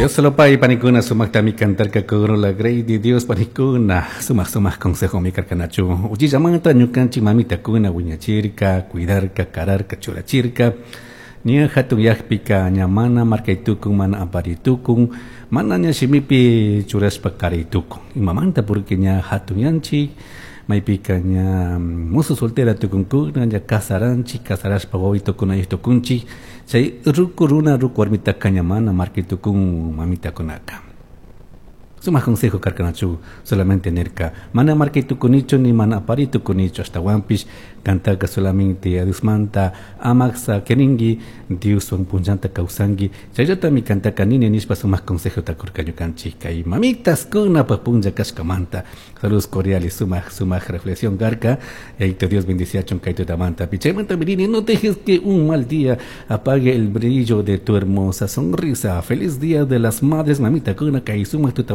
Dios solo pay panikuna sumaqtami kantarka la grey de Dios panikuna sumaq sumaq consejo mi karkanachu uchillamanta ñukanchik mamitakuna wiñachirka cuidarka kararka churachirka ña hatun yaqpika ña mana markaytukun mana aparitukun mana ña shimipi churashpa karaytukun imamanta porque ña hatun yanchik maypika ña musu soltera tukunkuna ña kasaranchik kasarashpa wawitukuna tukunchik chay ruku runa ruku warmitaka ña mana markaytukun mamitakunaka. Sumaq consejo karkanachu solamente nirka mana markaytukunichu ni mana aparitukunichu ashtawanpish kantaka solamente Diosmanta amak sakirinki Dioswan punllanta kawsanki chayllatami kantaka nini nishpa sumaq consejota kurka ñukanchik kay mamitas kunapaq punlla kashkamanta. Saludos cordiales, sumaq sumaq reflexión karka. Yayito Dios bendiciachun kay tutamanta. Chaymanta mirini, no dejes que un mal día apague el brillo de tu hermosa sonrisa. Feliz día de las madres, mamita kuna kay sumaq tuta.